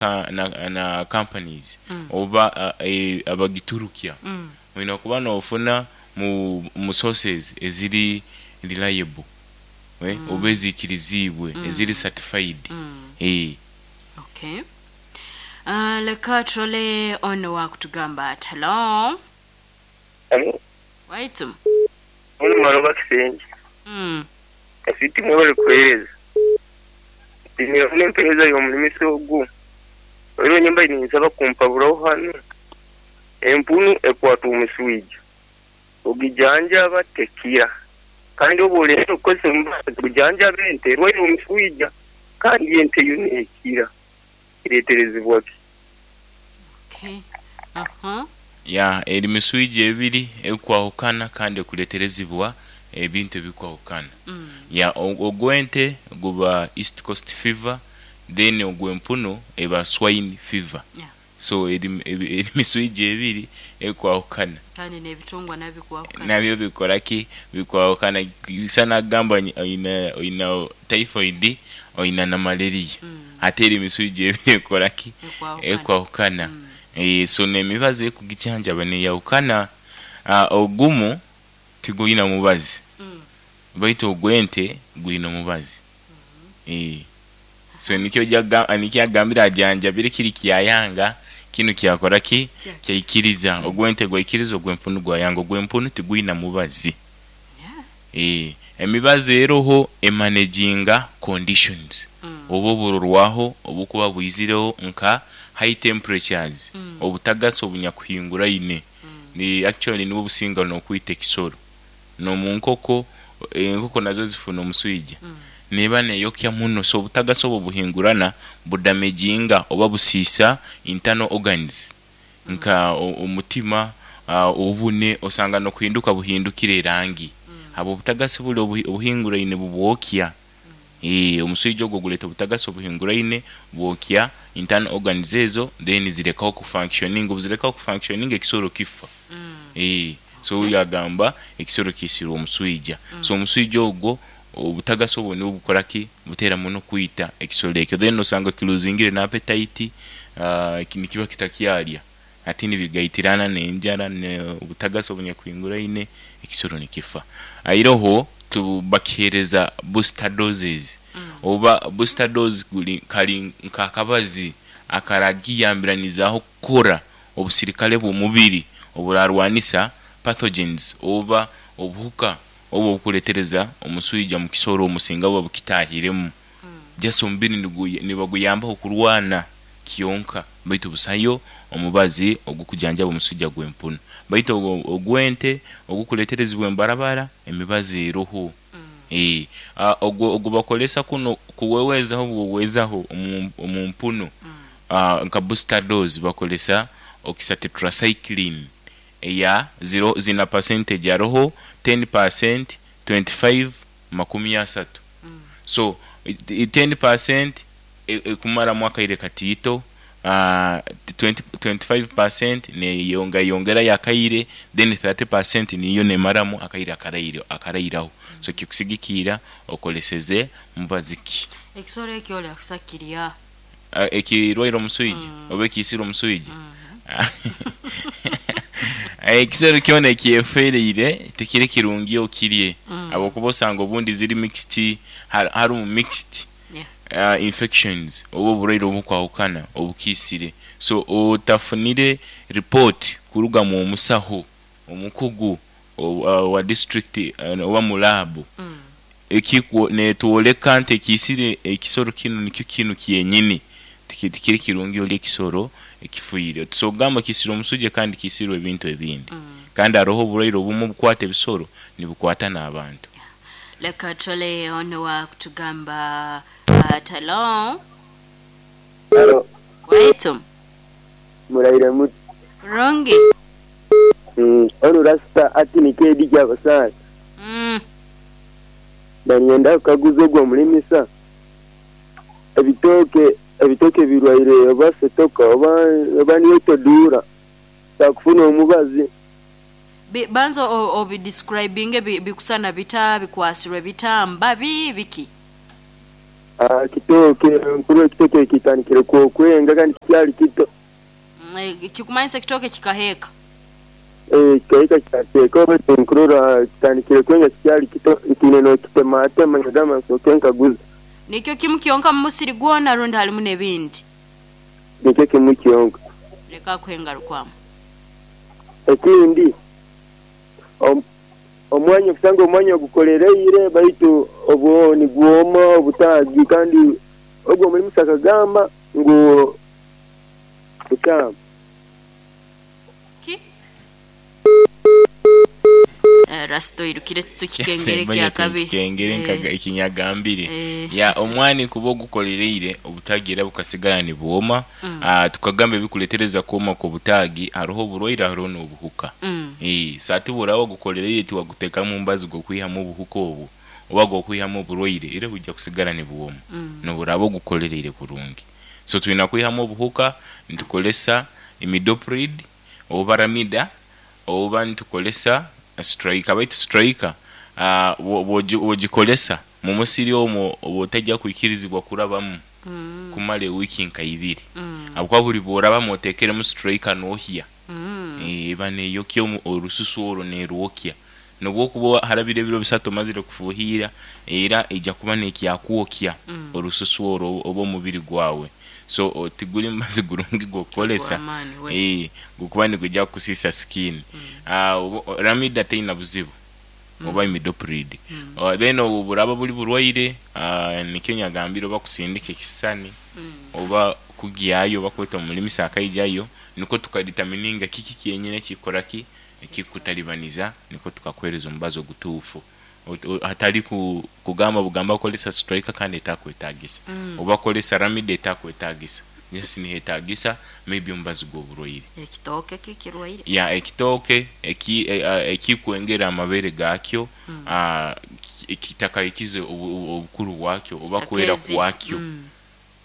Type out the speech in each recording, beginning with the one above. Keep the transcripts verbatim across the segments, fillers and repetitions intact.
na, na companies Mm. oba uh, e, abagiturukya Mm. olina kuba n'ofuna mu, mu sources eziri reliable, eh, Mm. oba eziikiriziibwe, Mm. eziri certified. Mm. eh. Okay. Uh, leka turole ono wakutugamba ati hello. Alo, Waitu. ono maloba kisenge. Mm. Afiti mwebale kuheereza. Ndinira empeereza y'omulimisa ogu. Olwo nyumba ninsaba kumpaburaho hanu. Empunu ekwata omuswija. Ogijanjaba tekira. Kandi obu olenda okukozesa omubazi gujanjaba ente erwaire omuswija. Kandi ente yo neekira. Kireeterezebwa ki? Okay. Uh-huh. Ya, eri miswija ebiri ekwahukana kandi ekuleterezibwa ebintu ebikwahukana. Mm. Ya, o- ogw'ente guba East Coast fever, then ogw'empunu eba swine fever. Yeah. So eri, eri, eri miswija ebiri ekwahukana. Kandi n'ebitungwa nabyo bikwahukana. Nabyo bikora ki? Bikwahukana. Sana gamba oyina oyina typhoid, oyina na malaria. Mm. Ate eri miswija ebiri ekora ki? Ekwahukana. Ekwahukana. Mm. Eh, so n'emibazi ekugijanjaba neyahukana. uh, ogumu tiguyina mubazi, Mm. baitu ogw'ente guyina omubazi. Eh. So nikyo jaga nikyo agambira ajanjabire kiri kyayanga, kinu kyakora ki? Kya- Kyaikiriza. Ogw'ente gwaikiriza, ogw'empunu gwayanga. Ogw'empunu tiguyina mubazi. Yeah. Eh, emibazi eroho emanaginga conditions Mm. oba oburorwaho obukuba bwizireho nka high temperatures, Mm. obutagasa obunyakuhinguraine. Mm. Ni actually nibwo businga n'okwita ekisoro. N'omu nkoko, enkoko nazo zifuna omuswija. Mm. Neba neyokya muno, so obutagasa obwo buhingurana budamaginga oba busiisa internal organs nka o- omutima, uh, obune osanga n'okuhinduka buhindukire erangi. Mm. Abo obutagasi buli obuhi- obuhinguraine bubwokya. Eh, omuswija ogwo guleeta obutagasi obuhinguraine bwokya internal organs ezo, then zirekaho kufunctioning. Obuzirekaho kufunctioning, ekisoro kifa. Mm. Eh, so oyo agamba ekisoro kisirwe omuswija. So omuswija ogwo, obutagasi obwo nibwo bukora ki? Buteera muno kwita ekisoro ekyo. Then osanga kiluzingire n'appetite, uh, nikiba kitakyarya, ate nibigaitirana n'enjara obutagasi obunyakuhinguraine, ekisoro nikifa. Airoho tubakihereza booster doses. Mm. Oba booster dose guli kali nk'akabazi akaragiyambiranizaho kukora obusirikale bw'omubiri oburarwanisa pathogens oba obuhuka oba obukuletereza omuswija mu kisoro omusinga buba bukitahiremu. Mm. Just omubiri niguy- nibaguyambaho kurwana kyonka, baitu busayo omubazi ogukujanjaba omuswija gw'empunu. Baitu ogwo- ogw'ente ogukuleterezibwa embarabara, emibazi eroho. Mm. Eh, ah, ogwo ogwo bakolesa kuno kuwewezaho bwowezaho omu omu mpunu. Mm. uh, nka booster dose bakolesa oxytetracycline eya zero zina percentage, aroho ten percent, twenty-five, makumi asatu. Mm. So i- i- ten percent e- ekumaramu akaire katiito, uh, twenty, twenty-five percent neyonga yongera yakaire, then thirty percent niyo nemaramu akaire akaraire akarairaho. So kikusigikira okoleseze mubazi ki. Ekisoro ekyo oli akusakirya. uh, ekirwaire omuswija Mm. oba ekiisire omuswija. Mm. Ekisoro kyona ekyefereire tekiri kirungi okirye, Mm. habwokuba osanga obundi ziri mixed, har- harimu mixed Yeah. uh, infections oba oburwaire obukwahukana obukiisire. So otafunire report kuruga mu omusaho omukugu o- uh, wa district uh, oba mu lab Mm. ekikwo netwoleka nti ekiisire ekisoro kinu nikyo kinu kyenyini, Tiki- tikiri kirungi oli ekisoro ekifiire. Tusobogamba kisire omusujja kandi kisirwe ebintu ebindi. Mm. Kandi haroho oburwaire obumu obukwata ebisoro nibukwata n'abantu. Leka tole ono wa kutugamba uh, hello. Halo, Waitu. muraire muti? Rungi. Mm, ono rasita ati nikedi kyabasana. Mm. Banyenda kukaguza ogwo mulimisa. Ebitooke ebitooke birwaire oba setoka oba oba niyo todura. Takufuna omubazi. Bi- banza o- obidescribinge bi- bikusana bita, bikwasirwe bita, mbabi biki? Ah, kitooke nkuru ekitooke kitandikire kwokwenga kandi kikyali kito. Mm, Kikumanyisa ekitooke kikaheeka. Eh, kikaika kyateeka oba nkurora kitandikire kwenga kikyali kito ntiine n'okitematema nkagamba nsooke nkaguza. Nikyo kimu kyonka mu musiri gwona rundi halimu n'ebindi. Nikyo kimu kyonka. Leka kuhengarukwamu. Ekindi om- omwanya okusanga omwanya ogukolereire baitu obwo nigwoma obutaagi kandi ogwo omulimu sakagamba ngu bukyamu. Ki? Eh, Rasito irukire tukikengere kya kabi. Kengere Eh, nkaga ekinyagambire. Eh. Ya omwani kuba ogukolereire obutaagi era bukasigala nibwoma. Mm. Ah, tukagamba ebikuletereza kwoma kw'obutaagi hariho oburwaire hariho n'obuhuka. Mm. Eh, so ati buraba ogukolereire tiwagutekamu mbazi gw'okwihamu obuhuka obwo oba gw'okwihamu oburwaire era bujja kusigala nibwoma. Mm. Noburaba ogukolereire kurungi. So tulina kwihamu obuhuka nitukolesa imidoprid oba ramida oba nitukolesa striker baitu striker uh, bwogikolesa mu musiri omwo oba otajja kwikirizibwa kurabamu Mm. kumala ewiiki nka ibiri Mm. habwokuba buli bworabamu oteekeremu striker n'ohya. Mm. Eh, eba neyokya omu- orususu orwo nerwokya nobwokuba harabire ebiro bisatu omazire kufuhira era ejja kuba nekyakwokya Mm. orususu orwo oba omubiri gwawe so o- tiguli mubazi gurungi gwokukolesa. Gw'amaani, we. Eh, gukuba nigujja kukusisa skin. Ah, obo- o- ramida teina buzibu oba imidoprid. Uh, then obwo buraba buli burwaire, ah, nikyo nyagambire oba kusindika ekisani Mm. oba kugyayo oba kweta omulimisa akaijayo niko tukadetermininga kiki kyenyine kikora ki ekikutalibaniza niko tukakwereza omubazi ogutuufu. Ot- o- hatali ku, kugamba bugamba kolesa striker kandi etakwetagisa. Mm. Oba kolesa ramida etakwetagisa yes nihetagisa maybe omubazi gw'oburwaire. Ekitooke kikirwaire. Ya ekitooke eki- e- a- ekikwengera amabere gakyo. Mm. Ah, ki- kitakaikize obu- obu- obukuru bwakyo oba kwera Kitakeezire. kwakyo. Mm.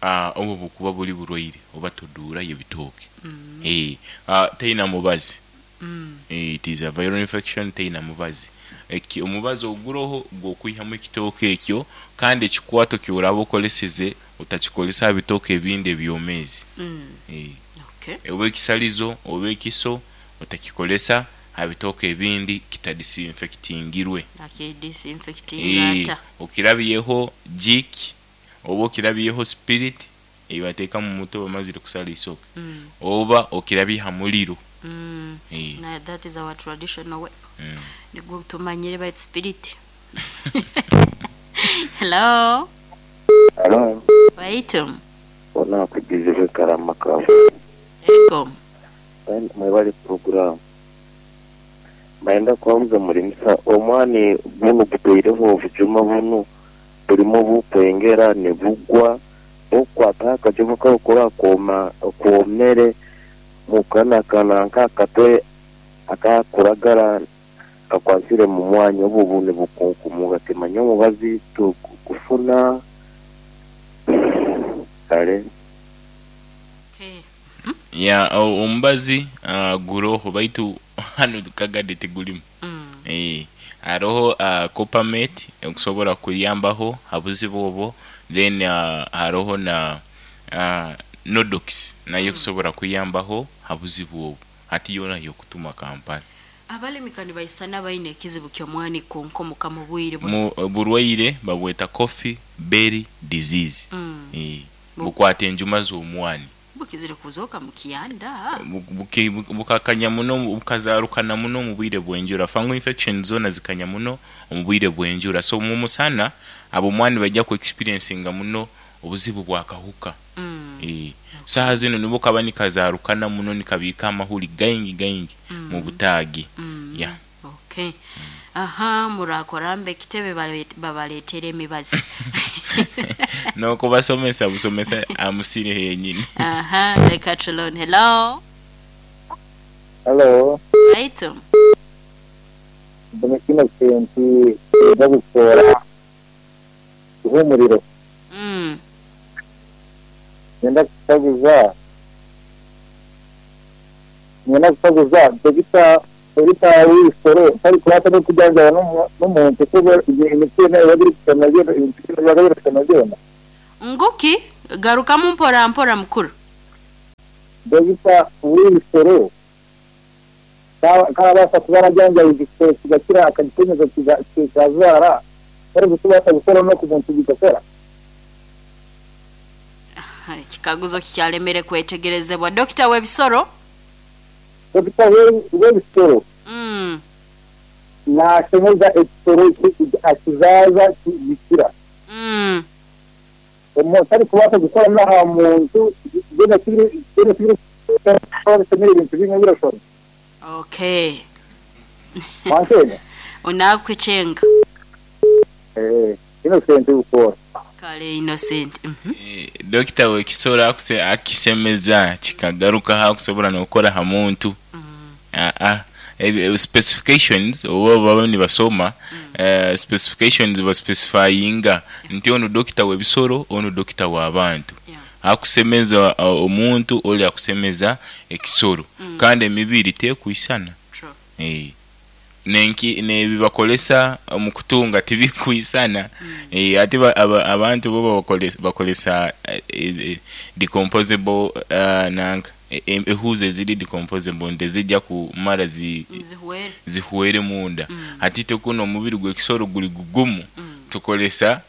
Ah, obwo bukuba buli burwaire oba toduurayo ebitooke. Mm. Eh, ah, teina mubazi. Mm. Eh, it is a viral infection teina mubazi. Eki omubazi oguroho gw'okwihamu ekitooke ekyo kandi ekikwato kyoraba okoleseze otakikolesa aha bitooke ebindi ebyomeezi. Mm. Eh, Okay. oba ekisalizo oba ekiso otakikolesa aha bitooke ebindi kitadisinfectingirwe. Akidisinfectinga Eh, ata. okirabyeho jik oba okirabyeho spirit ebateeka mu muto bamazire kusala isoke Mm. oba okirabye ha muliro. Mm. Eh, Na that is our traditional way. mm. Nigwo tumanyire bait spirit. Hello. Hello. Waitum. Ona kugizire karama kawe. Ego. Mwebale program. Maenda kwamuza mulimisa omwani buno guteireho obujuma buno bulimo bukwengera ne bugwa okwata akajuma kakora koma kwomere mukana kana nkakatwe akakuragara kakwasire mu mwanya obu bune bukunkumuga timanya omubazi tukufuna kale. Okay. Ya o- omubazi uh, guroho baitu hano kagadde tegulimu. Mm. Eh, hariho uh, coppermate okusobola kuyambaho ha buzibu obwo then uh, hariho na uh, nodox nayo kusobola kuyambaho ha buzibu obwo hati yona yokutuma Kampala. Abalimi kandi baisana baine ekizibu ky'omwani kunkomoka mu bwire bu- Mu burwaire babweta coffee berry disease. Mm. Eh, Bu- bukwata enjuma z'omwani. Bukizire kuzooka mu kiyanda. Bu- buki- bu- bukakanya muno bukazarukana muno mu bwire bw'enjura. Fungal infection zona zikanya muno mu bwire bw'enjura so mu musana abo mwani bajja ku experiencinga muno obuzibu bwakahuka. Mm. Eh, saha zino nibo kaba nikazarukana muno nikabiika amahuri gaingi gaingi Mm. mu butaagi. Mm. Yeah. Okay. Aha, murakorambe ekitebe bale- babaleetera emibazi. N'okubasomesa busomesa amusiri yenyini. Aha, leka tulone. Hello. Hello, Waitum. mbona kino kintu kiza gukora ihumuriro. Mm. Ngenda kukaguza ngenda kukaguza dogita dogita w'ibisoro ntari kurata no kujanjaba n'omuntu kuba imiti yona eba eri kusoma byona imiti yona eba eri kusoma byona. Nguki garukamu mpora mpora mukuru. Dogita w'ebisoro karabasa kuba arajyanja igisoro kigakira akagikomeza kikazara bari gutubasa gukora no ku muntu bigakora. Ekikaguzo kikyalemere kwetegerezebwa. Dokita w'ebisoro? Dokita w'ebisoro mm. Nashemeza ekisoro akizaza gikira. Mm. Omuntu ari kubasa gukora n'aha muntu gena kiri gena kiri ebintu bimwe birashobora. Okay. Wankene unakwichenga. Eh, Innocent ukora. Kale Innocent. Mm -hmm. Eh, dokita w'ekisoro akuse akisemeza kikagaruka hakusobora n'okukora ha muntu. Mm. Ah ah eh, specifications oba baba nibasoma Mm. eh, specifications baspecifyinga nti ono dokita w'ebisoro ono dokita w'abantu. Yeah. Akusemeza uh, omuntu oli akusemeza ekisoro. Mm. Kandi emibiri tekwisana. True. Eh. Nenki nebibakolesa mu kutunga tibikwisana. Mm. Eh, ate ba, aba, abantu bo bakolesa bakolesa eh, eh, decomposable uh, nanka ehuze ziri decomposable ndezijja kumara zi Nzihuwere. zihuwere munda. Mm. Ate tekuno omubiri gw'ekisoro guli gugumu. Mm. Tukolesa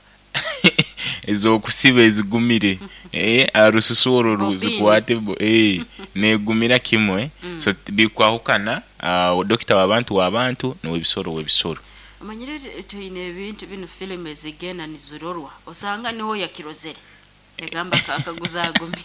ezokusiba ezigumire. Eh, arususu olwo Bobini. zikwate eh negumira kimwe. Mm. So bikwahukana uh, dokita w'abantu w'abantu n'ebisoro w'ebisoro. Amanyire tuyine ebintu bino filime zigenda nizirorwa osanga niho yakirozere yagamba kakaguza agumi.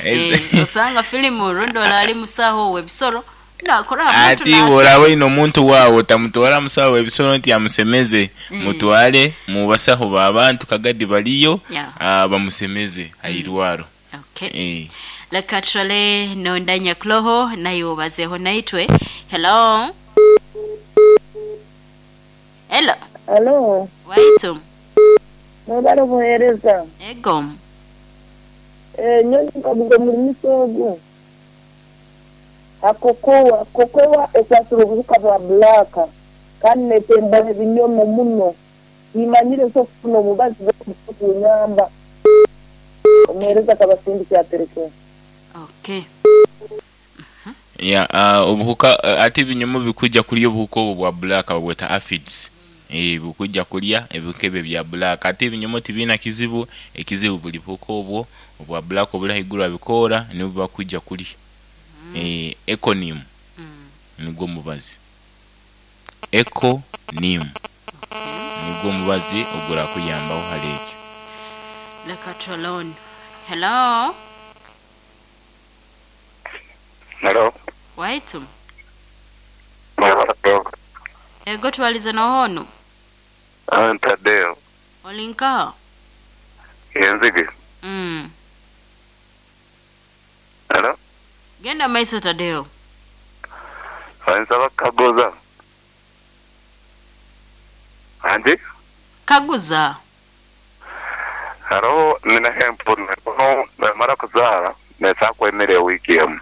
Eh, osanga filimu rondola ali musaho w'ebisoro nakora abantu Ati woraba ino omuntu waawe otamutwara musaho w'ebisoro nti amusemeze. Mm. Mutwale mu basaho b'abantu kagadi baliyo Yeah. uh, bamusemeze airwaro. Okay. Eh. Leka turale nondanya kuloho nayo bazeho naitwe. Hello. Hello. Alo, Waitu. mwebale buheereza. Ego. Eh, nyonyi nkaguza omulimisa ogu. Akokowa, kokowa ekwasira obuhuka bwa black kandi netemba ebinyomo muno. Nimanyire nso okufuna omubazi gw'okunyamba. Omuheereza akabasindikira atereke. Okay. Ya uh, obuhuka uh, ate ebinyomo bikujja kulya obuhuka obwo bwa black babweta aphids. Eh, bukujja kulya ebihuka ebyo bya black. Ate ebinyomo tibina kizibu, ekizibu buli buhuka obwo obwa black obuli haiguru abikoora nibwo bakujja kulya. Mm. Eh, econym Mm. nigwo mubazi. Econym Okay. nigwo mubazi ogura kuyambaho hali ekyo. Leka turale. Hello. Hello. Waitu. Ego twalize nohono. Tadeo. Olinka. Yenzige. Mm. Hello. Genda maiso Tadeo. Nsaba kaguza. Andi? Kaguza. Hariho nina hempu no mara kuzaara nesa kwemere wiki emu.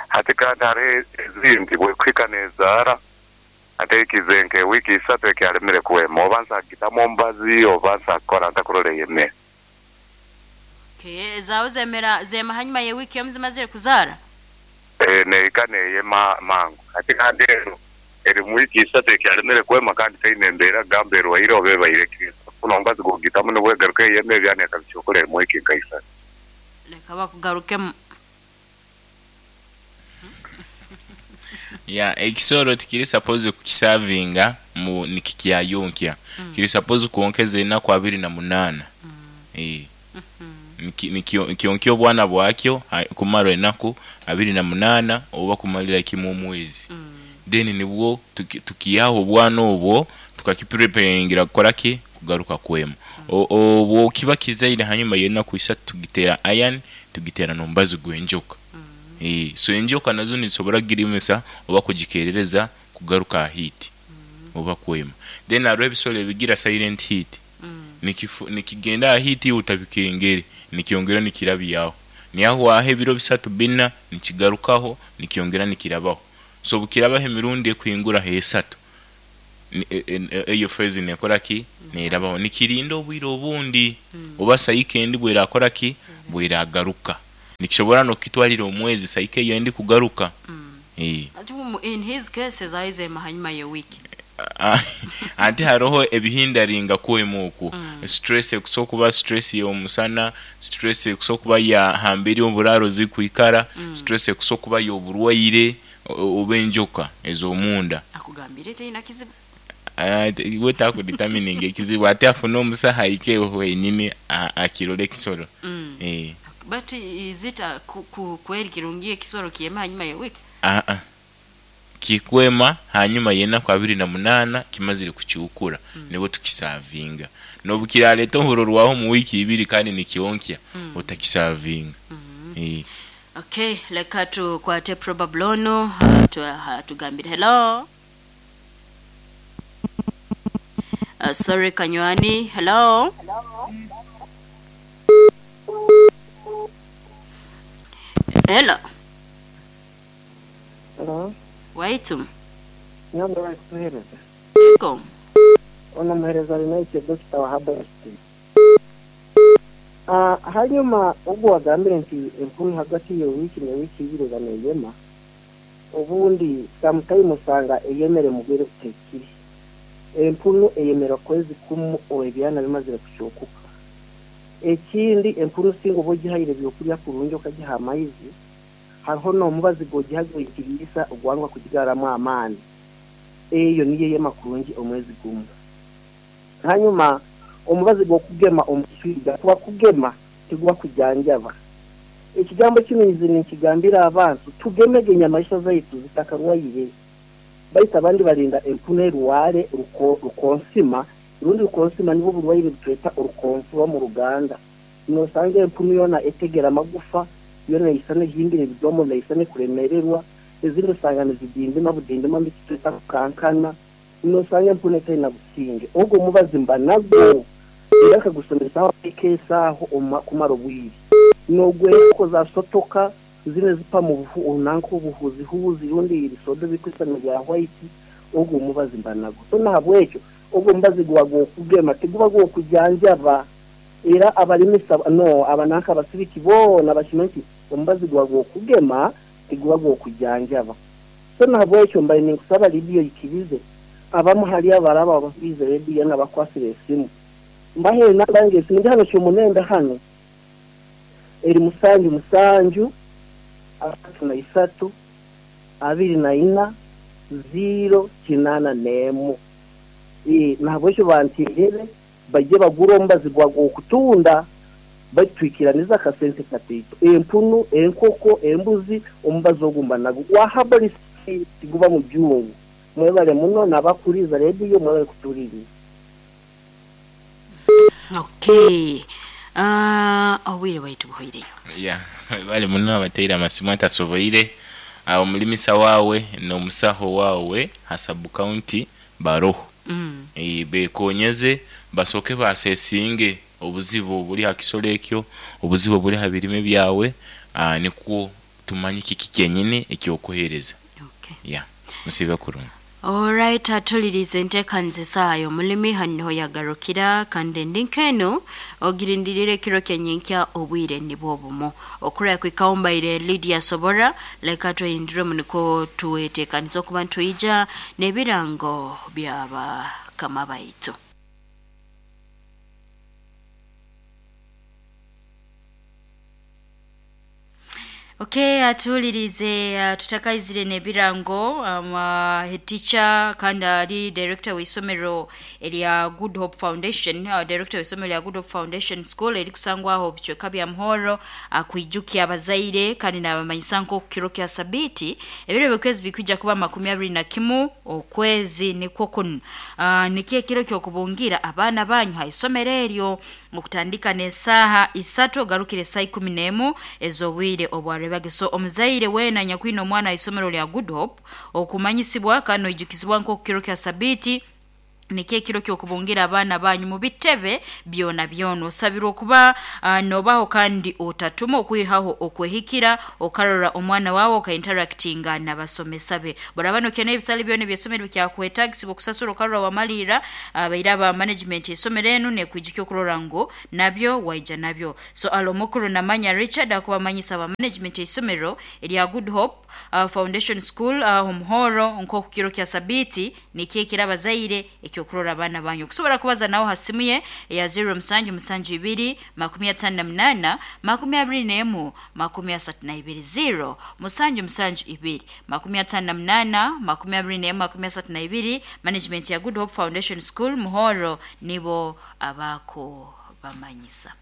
Ate kandi hariho ezindi bwekwika nezaara ate ekizenke wiki isatu ekyalemere kuwema oba nsagitamu omubazi oba nsakukora ntakurora eyemere. Okay, zawe zemera zema hanyuma ye wiki emu zimazire kuzaara. Eh, neika neyema mangu. Ate kandi ero eri mu wiki isatu ekyalemere kuwema kandi teine embeera gamba erwaire oba ebaire kufuna omubazi gwogitamu nibwegaruka eyemere byanekabikyokora eri mu wiki nka isatu. Leka bakugarukemu. Ya ekisoro tikiri suppose kukisavinga mu nikikyayonkya. Mm. Kiri suppose kuonkeza enaku abiri na munana. Mm. Eh. Mm -hmm. Nikyonkya obwana bwakyo kumara enaku abiri na munana oba kumalira kimu omwezi. Mm. Then nibwo tukiyaho obwana obwo tukakipreparingira kukora ki kugaruka kwema. Mm. Obwo kiba kizaire hanyuma y'enaku isatu tugitera iron tugitera nombazi gw'enjoka. Mm. Eh, so enjoka nazo nizisobora kugirimisa oba kugikerereza kugaruka heat. Mm. Oba kwema. Then hariho ebisoro ebigira silent heat. Mm. Nikifu, nikigenda heat utabikengere nikyongera nikirabyaho. Niyahwaho ebiro bisatu bina nikigarukaho nikyongera nikirabaho. So bukirabaho emirundi ekuhingura esatu. Eyo phase nekora ki nerabaho nikirinda obwire obundi oba sayike endi bwerakora ki bweragaruka nikishobora nokitwalira omwezi sayike eyo endi kugaruka. Mm. In his cases aize hanyuma ye wiki ante haroho ebihindaringa kwemu oku mm. Stress ekusokuba stress y'omusana, stress ekusokuba ya hambiri oburaro zikuikara, mm. Stress ekusokuba y'oburwaire oba enjoka ez'omunda akugambire teyina kizibu we takudetermining ekizibu ate afuna omusaha ike wenyini akirole ekisoro. Mm. Eh. But is it a kweri kirungi ekisoro kiyema hanyuma ya wiki? Ah ah. Kikwema hanyuma yenaku abiri na munana kimazire kucyukura. Mm. Nibo tukisavinga nobukiraleta ohurorwaho mu wiki ibiri kandi nikyonkya. Mm. Utakisavinga. Mm -hmm. Eh. Okay, leka tukwate probablono tugambire hello. Uh, sorry Kanywani, hello. Hello. Hello. Waitu. Nyambo kuhereza. Eko. Ona muhereza rinaite Doctor wa Habersti. Ah, hanyuma ubwo wagambire nti empunu hagati yo wiki ne wiki ibiri baneyema. Obundi sometime usanga eyemere mugwire kutekiri. Empunu eyemera kwezi kumu oebyana bimazire kucyokuka. Ekindi empunu singo bogihayire byokulya kurungi okagiha amaizi hariho n'omubazi gogihago ikirisa ogwangwa kugigaramo amaani eyo niyo yema kurungi omwezi gumu. Hanyuma omubazi gwokugema omuswiga kuba kugema tigwa kujanjaba. Ekigambo kino nzi nikigambira abantu tugemege enyamaisha zaitu zitakarwaire. Baita abandi barinda empunu eruware rukonsima rundi rukonsima nibo burwaire butweta urukonfuba mu Ruganda. Nosanga empunu yona etegera amagufa yona isane himbire bidomo na isane kuremererwa ezindi usanga nizidindima budindima mbitweta kukankana. Nosanga empunu etayina businge ogwo mubazi mba nagwo era akagusomesa aho ikesaho kumara obwire nogwe za sotoka zine zipa mu bufu onanko obuhuzi huzi rundi irisodo bikwisana bya white ogwo mubazi mba nagwo. So nahabwekyo ogwo mubazi gwago kugema tiguba gwo kujanjaba era abalimisa no abananka abasibiki bona bashimanti omubazi gwago kugema tiguba gwo kujanjaba. So nahabwekyo mbaye ninkusaba lidiyo ikirize abamu hali abaraba ababize rediyo n'abakwasire esimu mbahe nabange esimu ndi hano cyomunenda hano eri musanju musanju atatu na isatu abiri na ina ziro kinana nemu. E nahabwekyo bantirere bajye bagura omubazi gwago kutunda batwikiraniza akasente katito empunu enkoko embuzi omubazi ogumba nago wahabolisi tiguba mu byungu. Mwebale muno nabakuriza rediyo mwebale kutuririza. Okay. Ah, uh, awire waitu buhoireyo. Yeah, bale muno abateira amasimu atasoboire awo mulimisa wawe n'omusaho wawe hasabu county baroho. Mm. E bekonyeze basoke basesinge obuzibu obuli hakisolo ekyo obuzibu obuli habirime byawe uh, nikwo tumanyi kiki kyenyine ekyokuhereza. Okay. Yeah. Musibe kurungi. Alright, atulirize enteekaniza esaayo mulimi hano yagarukira kandi ndinkeno ogirindirire kiro kyenyinkya obwire nibwo obumu okuraya kwikawumbaire Lydia Sobora leka tweyindire muniko tuweteekaniza okuba ntwija n'ebirango by'abakama baitu. Okay, atulirize uh, tutakaizire nebirango um, uh, head teacher kandi ali director w'isomero erya Good Hope Foundation, uh, director w'isomero lya Good Hope Foundation School eri kusangwaho bicweka bya Muhoro akwijukya uh, abazaire kandi n'abamanyisa nko kiro kya sabiti ebiro by'okwezi bikwijja kuba makumi abiri na kimu okwezi nikwo kuno uh, nikiye kiro kyokubungira abaana banyu ha isomero eryo okutandika n'esaaha isatu ogarukire saa ikumi n'emu ez'obwire obwa rebageso omuzaire wena nyakwino omwana isomero lya Good Hope okumanyisibwa kano ijukizibwa nko kiro kya sabiti Nikyo ekiro kyokubungira abaana banyu mu bitebe byona byona. Osabirwa okuba uh, nobaho kandi otatuma okwihaho okwehikira okarora omwana wawe okainteractinga n'abasomesa be. Boraba nokena ebisale byona ebyesomero bikyakwetagisibwa okusasura okarora wamalira abaire aba management esomero enu nekwijukya okurora ngu nabyo waija nabyo. So alo mukuru namanya Richard akubamanyisa aba management esomero erya Good Hope uh, Foundation School uh, omuhoro nk'oku kiro kya sabiti nikyo ekiro abazaire ekyokurora abaana banyu. Okusobola kubaza nawe ha simu ye eya zero musanju musanju ibiri makumi atano na munana makumi abiri n'emu makumi asatu na ibiri, zero musanju musanju ibiri makumi atano na munana makumi abiri n'emu makumi asatu na ibiri. Management ya Good Hope Foundation School Muhoro nibo abako bamanyisa.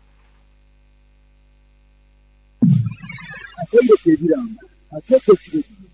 Atendeka ebiranga, ateeka ekirego.